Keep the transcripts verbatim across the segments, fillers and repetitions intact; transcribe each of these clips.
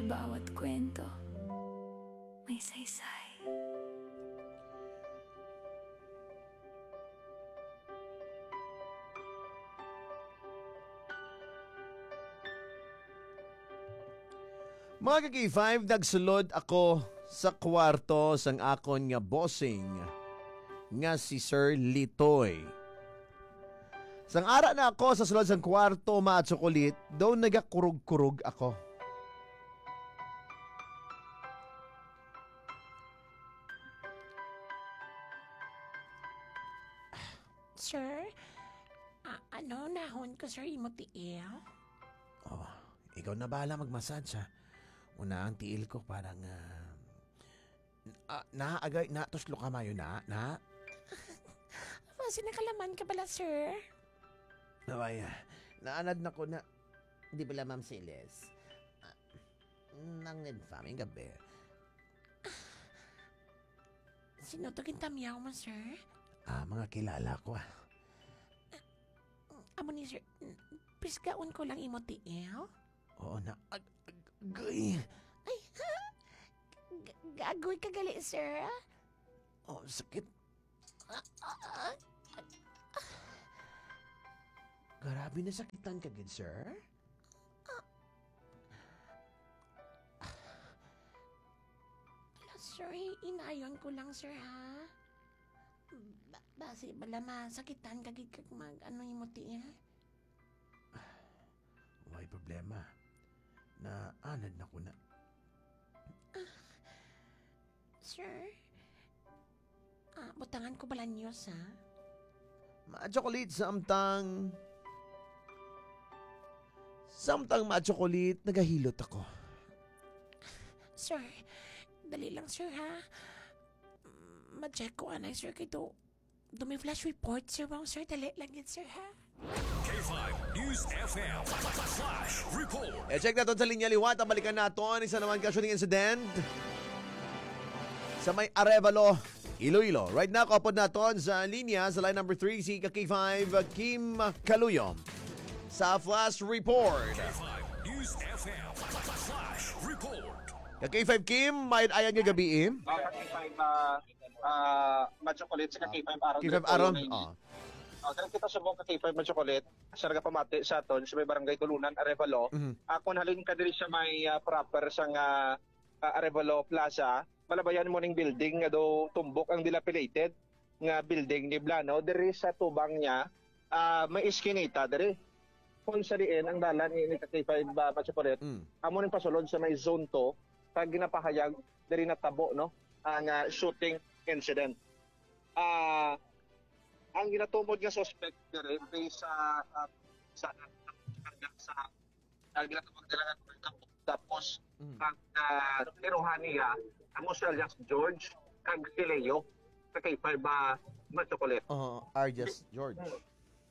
Bawat kwento may saysay. Mga ka-K five, nagsulod ako sa kwarto sang akon nga bossing nga si Sir Litoy. Sang ara na ako sa sulod sang kwarto, mga tsokolit, daw nagakurog-kurog ako. Sir, a- ano nahon ko, sir, imo tiil? Oh, ikaw na bahala mag-massage, ha? Una ang tiil ko parang ah, ah, na agay na tuslo ka mayo na, na. Basi nakalaman ka bala, sir? Naway, ah, naanad na ko na. Di bala, Ma'am Celes? Ah, nang nagpaming gabi. Sino to gintamyaw mo, sir? Ah, mga kilala ko, ah. Amo ni, sir, pisgaon ko lang imo tiil. Oo na. Ag- ag- Agoy. Ay, ha? G- gagoy ka gali, sir? Oh, sakit. Grabe na sakitan ka gid, sir. Ala, sir, inayon ko lang, sir, ha? Ba- basi bala masakitan ka gid kag mag ano imo tiil? Way problema. Naanad na ko na. Sir, ah, butangan ko bala niyo sa? Ma-chocolate samtang... Samtang ma-chocolate, nagahilot ako. Sir, dali lang, sir, ha? Mm, ma-check ko anay, sir, kay do, do may flash report, sir, bang, sir, dali lang yun, sir, ha? K five News F M Flash Report. E-check naton sa linya liwat ang balikan naton. Isa naman ka shooting incident sa may Arevalo, Iloilo. Right now, kaupod naton sa linya sa line number three, si ka K five Kim Kaluyo sa Flash Report. K five News F M Flash Report. Ka K five Kim, may ayan nga gabi eh. Ah, ka K five, ah, ah, Macho Colette, sa ka K five Aaron. K five Aaron, Repola, oh. Ah, diri kita subong ka K five Macho Colette, sa nagapamati sa aton, sa may barangay Tulunan, Arevalo. Mhm. Ako halin ka diri sa may, ah, proper sa nga, ah, Arevalo Plaza, malabayan mo ning building nga do tumbok ang dilapidated nga building ni Blano. Diri sa tubang niya, ah, may iskinita diri. Kung sa diin ang dalan ni, ni ka K five, ah, Macho Colette, Mm. amo ning pasulod sa may zone two, kag ginapahayag diri natabo, no, ang, ah, shooting incident. Ah, ang ginatumod nga suspect diri based sa, ah, sa, sa, ang ginatawag nila nga, tapos Mm. ang, ah, tiruhan niya amo si alias George kag si Leo sa K five, ah, Macho Colette. Oh, Arjas George.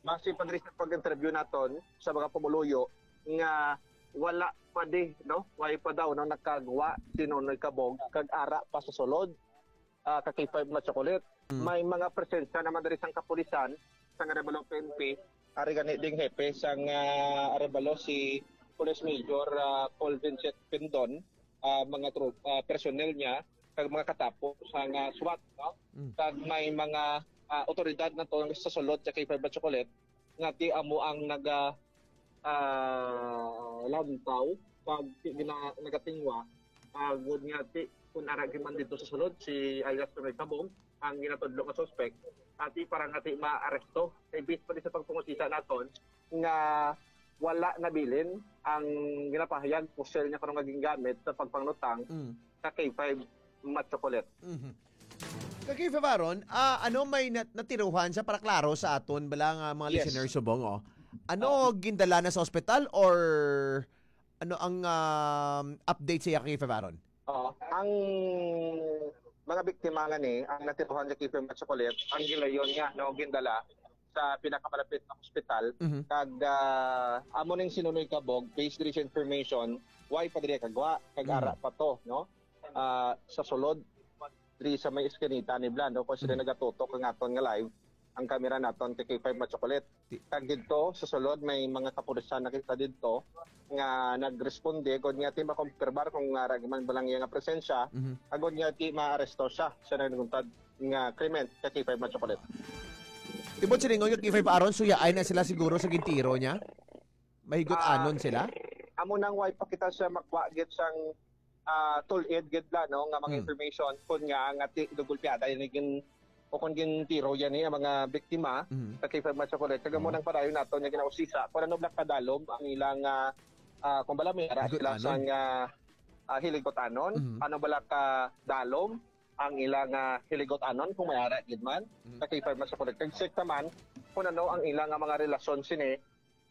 Base pa diri sa pag-interview naton sa mga pumuluyo nga wala pa di, no? Wala pa daw, no, nakagwa si Nonoy Kabog kag ara pa sa sulod, ah, ka K five Macho Colette. Mm. May mga presensya naman diri sang kapulisan sa Arevalo P N P, ari gani ding hepe sang, ah, Arevalo si Police Major, ah, Paul Vincent Pindon, ah, mga tro- ah, personnel niya kag mga katapo sang, ah, SWAT, no? Mm. Kag may mga, ah, otoridad na to sa sulod sa K five Macho Colette nga ti amo ang naga ah, lantaw kag ti gina, nagatingwa, ah, gud nga ti kun ara gyud man dito sa sulod si alias Nonoy Kabog ang ginatudlo nga suspect, ati para nga ti maaresto. Kay based pa di sa pagpangusisa naton nga wala nabilin ang ginapahayag pusil niya karon nga gingamit sa pagpanglutang Mm. sa K five Macho Colette. Mhm. Ka K five Aaron, ah, ano may nat- natiruhan sa para klaro sa aton bala nga mga Yes. listeners subong, oh. Ano gindala na sa ospital or ano ang um, update sa iya, K five Aaron? Oo. Ang mga biktima nga ni, ang natiruhan sa K five Macho Colette, ang gilayon niya, no, gindala sa pinakamalapit na ospital, Mhm. kag ah, amo ning si Nonoy Kabog, based diri sa information, why pa diri kagwa, kag Mhm. ara pa to, no? Ah, sa sulod diri sa may eskinita ni Blan, no, kung sila Mhm. nagatutok ang aton nga live, ang kamera naton kay K five Machocolate. Ti- Kag didto sa sulod may mga kapulisan na kita didto nga nagresponde gud nga ti makumpirmar kung nga rag man ba lang iya nga presensya, Mhm. agud nga ti maaresto siya sa nagluntad nga krimen kay K five Machocolate. Tibod silingon nga K five Aaron, suyaay na sila siguro sa gintiro niya? Mahigot-anon Ah, sila? Amo nang way pa kita sa makwa gid sang, ah, tulid gid la, no, nga mga Hmm. information kun nga nga ti gulpiada ini gin o kun gintiro yan ni ang mga biktima Mhm. sa K five Machocolate. Kag amo Oh. nang padayon nato nga ginausisa kung ano bala kadalom ang ilang, ah, ah, kung bala may ara sila Higot-anon. sang, ah, ah, hiligot-anon, Mhm. ano bala kadalom ang ilang, ah, hiligot-anon kung may ara gid man Mhm. sa K five Machocolate. Kag sekta man kung ano ang ilang, ah, mga relasyon sini,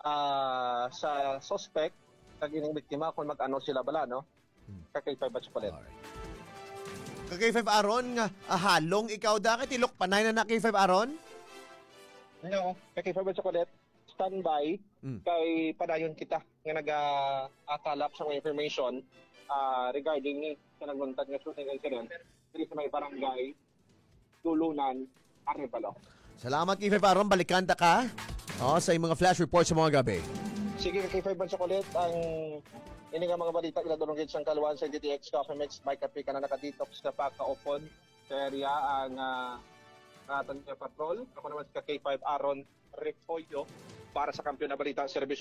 ah, sa suspect kag ining biktima kung mag-ano sila bala, no? Hmm. Ka K five Machocolate. Alright. Ka K five Aaron, nga, ah, halong ikaw da, kay tilok panay na na K five Aaron? No, ka K five Machocolate, standby, Mm. kay padayon kita nga naga-, ah, kalap sa mga information, ah, regarding ni sa nagluntad nga shooting incident diri sa may barangay Dulunan, Arevalo. Salamat, K five Aaron. Balikan ta ka, oh, sa iyong mga flash report sa mga gabi. Sige, K five Machocolate, ang ini nga mga balita ginadulong gid sang kaluan sa D T X Coffee Mix by Kape, kana naka-detox sa pagkaupod sa area ang, ah, aton nga patrol. Ako naman si K five Aaron Repollo para sa Kampiyon na Balita, Serbisyo